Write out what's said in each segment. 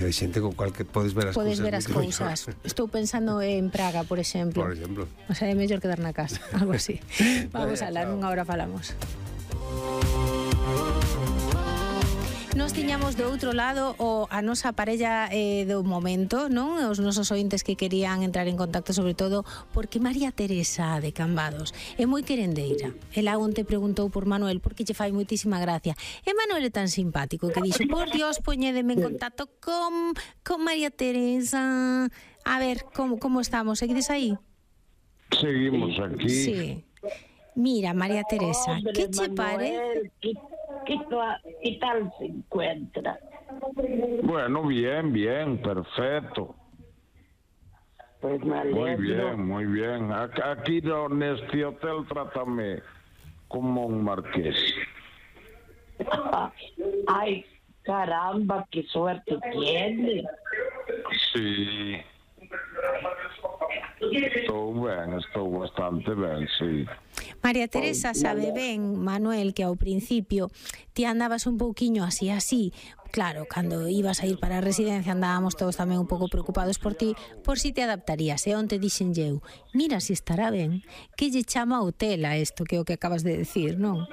Hai xente con cual que podes ver as Podes cousas. ver as cousas. Estou pensando en Praga, por exemplo. Por exemplo. O sea, é mellor quedar na casa, algo así. Vamos a la, nunha hora falamos. Nos tiñamos do outro lado a nosa parella do momento, non? Os nosos ointes que querían entrar en contacto, sobre todo porque María Teresa de Cambados é moi querendeira. Ela onte preguntou por Manuel porque lle fai moitísima gracia. E Manuel é tan simpático que dixo: por Dios, poñédeme en contacto con María Teresa. A ver, como estamos? Seguides aí? Seguimos aquí. Sí. Mira, María Teresa, ¿qué te parece? ¿Qué tal se encuentra? Bueno, bien, perfecto. Pues me alegro. Muy bien. Aquí en este hotel trátame como un marqués. Ay, caramba, qué suerte tiene. Sí. Estou bastante ben, sí. María Teresa sabe ben, Manuel, que ao principio ti andabas un pouquiño así. Claro, cando ibas a ir para a residencia andábamos todos tamén un pouco preocupados por ti, por si te adaptarías. E onte dixenlle eu: mira si estará ben, que lle chama hotel a isto, que é o que acabas de decir, non?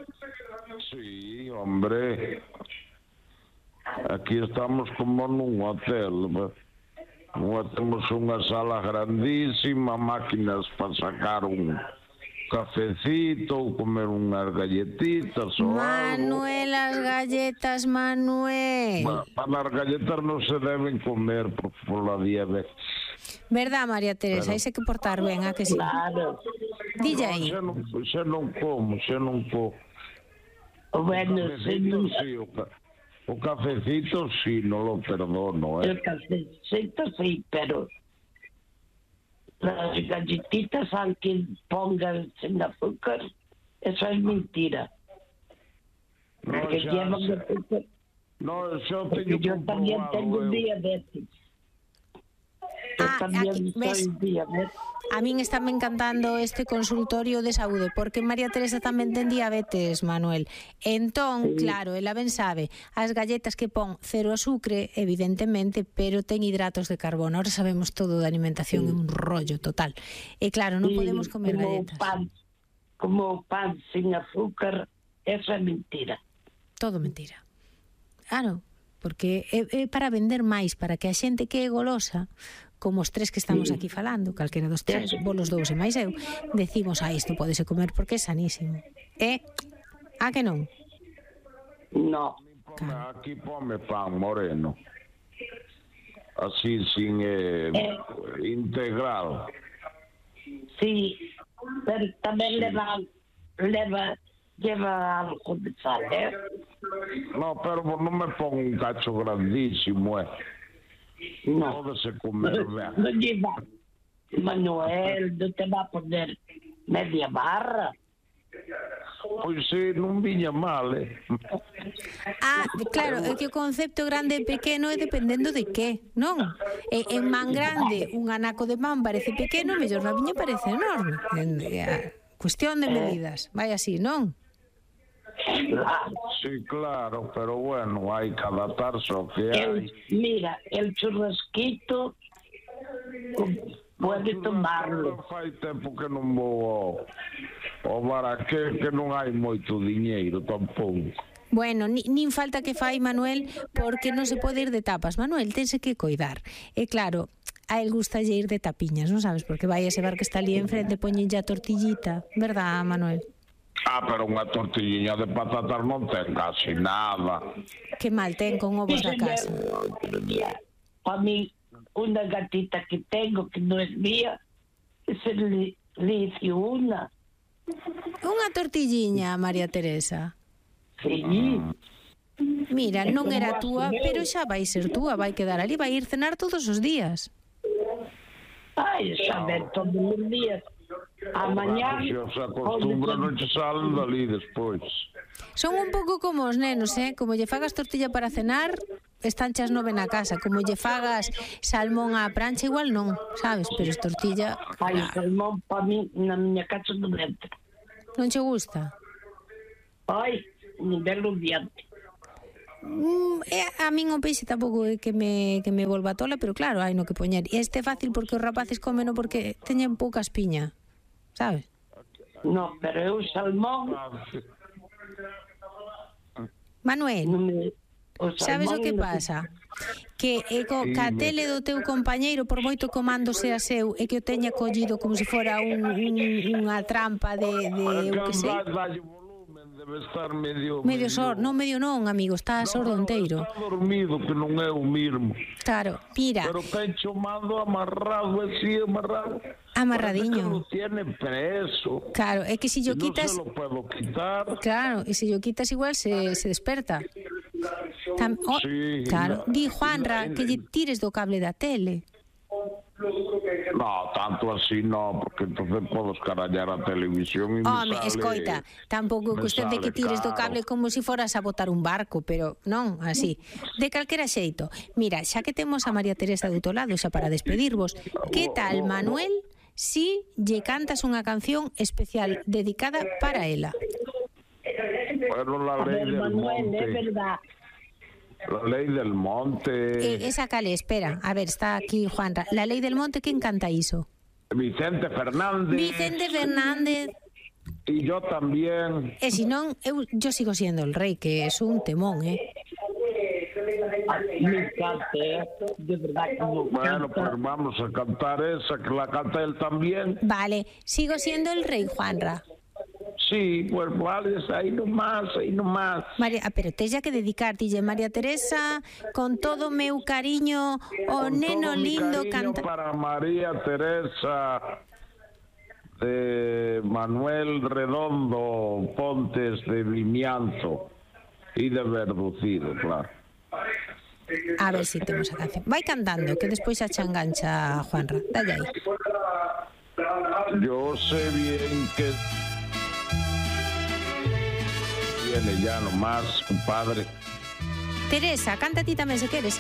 Sí, hombre. Aquí estamos como nun hotel. Temos unha sala grandísima, máquinas para sacar un cafecito, comer unhas galletitas ou Manuel, as galletas, Manuel. Bueno, para as galletas non se deben comer por la diabetes. Verdad, María Teresa? Hai que portar ben, a que sí? Claro. Dille aí. Xa non como. Bueno, O cafecito sí, no lo perdono, El cafecito sí, pero las galletitas, aunque pongan sin azúcar, eso es mentira. Porque llevan azúcar. No, yo también tengo diabetes. A min estáme encantando este consultorio de saúde porque María Teresa tamén ten diabetes, Manuel. Entón, claro, ela ben sabe, as galletas que pon cero azúcar, evidentemente, pero ten hidratos de carbono. Ahora sabemos todo de alimentación, é un rollo total. E claro, non podemos comer galletas. Como pan sin azúcar, eso é mentira. Todo mentira. Claro, porque é para vender máis, para que a xente que é golosa, como os tres que estamos aquí falando, calquera dos tres, vos los dous e máis eu, decimos, isto pódese comer porque é sanísimo. A que non? No. Claro. Aquí pome pan moreno. Así, sin integral. Sí, pero tamén lleva algo de sal, No, pero non me pon un cacho grandísimo, No. Todo se comer ben. No lleva. Manuel, no te va a poner media barra. Pois sí, non viña mal, Claro, é que o concepto grande e pequeno é dependendo de que, non? En man grande, un anaco de pan parece pequeno, mellor na viña parece enorme. Cuestión de medidas, vai así, non? Sí, claro, pero bueno, hai que adaptarse ao que hai. Mira, el churrasquito pode tomarlo. Fai tempo que non vou ao baraque, que non hai moito diñeiro tampouco. Bueno, nin falta que fai, Manuel, porque non se pode ir de tapas. Manuel, tense que coidar. E claro, a el gusta ir de tapiñas, non sabes? Porque vai ese bar que está ali enfrente, poñenlle a tortillita, verdad, Manuel? Pero unha tortilliña de patatas non ten casi nada. Que mal ten con ovos da casa. A mí, una gatita que tengo, que no es mía, se le hizo una. Unha tortilliña, María Teresa. Sí. Mira, non era túa, pero xa vai ser túa, vai quedar ali, vai ir cenar todos os días. Ai, saber todos os días. Amanhã Se os acostumbra non che salen dali despois. Son un pouco como os nenos, como lle fagas tortilla para cenar, están chas 9 na casa. Como lle fagas salmón á prancha, igual non, sabes? Pero es tortilla... Ai, salmón para mí na miña casa non entra. Non che gusta? Ai, un belo diante. A min o peixe tampouco é que me volva tola, pero claro, hai no que poñer. E este é fácil porque os rapaces comeno porque teñen pouca espiña, sabes? No, pero eu salmón... Manuel, sabes o que non- pasa? Que ca tele do teu compañeiro, por moito comando sea seu, e que o teña collido como se fora unha trampa de eu que sei. Dalle volumen, debe estar medio Medio non, amigo, está sordo enteiro. Está dormido, que non é o mismo. Claro, mira, Pero ten chamado amarrado, así amarrado. amarradiño. Parece que lo tiene preso. Claro, é que si yo No quitas... se lo puedo quitar. Claro, e se yo quitas igual se desperta. Sí, claro, no, di Juanra que lle tires do cable da tele. No, tanto así no, porque entonces puedo escarallar a televisión y me Home, sale- escoita, tampouco é me cuestión de que sale tires do caro. cable como se foras a botar un barco, pero non, así. De calquera xeito. Mira, xa que temos a María Teresa do outro lado, xa para despedirvos, que tal, Manuel, si lle cantas unha canción especial dedicada para ela? Bueno, la A ley ver, del Manuel, é monte. verdad. La ley del monte. Esa cale, espera, a ver, está aquí Juanra. La Ley del Monte, quen canta iso? Vicente Fernández. Vicente Fernández. Y yo también. E si non, yo sigo siendo el rey, que es un temón, Me encanta, de verdad que me Bueno, encanta. pues vamos a cantar esa, que la canta él también. Vale, sigo siendo el rey, Juanra. Sí, pues vale, ahí nomás, ahí nomás. María, pero tella que dedicarte, María Teresa, con todo meu cariño, o Con neno todo mi lindo cariño canta. para María Teresa de Manuel Redondo Pontes de Vimianzo y de Verducido, claro. A ver si temos a canción. Vai cantando, que despois xa engancha Juanra. Dalle aí. Yo sé bien que viene ya nomás, compadre. Teresa, canta ti tamén se queres,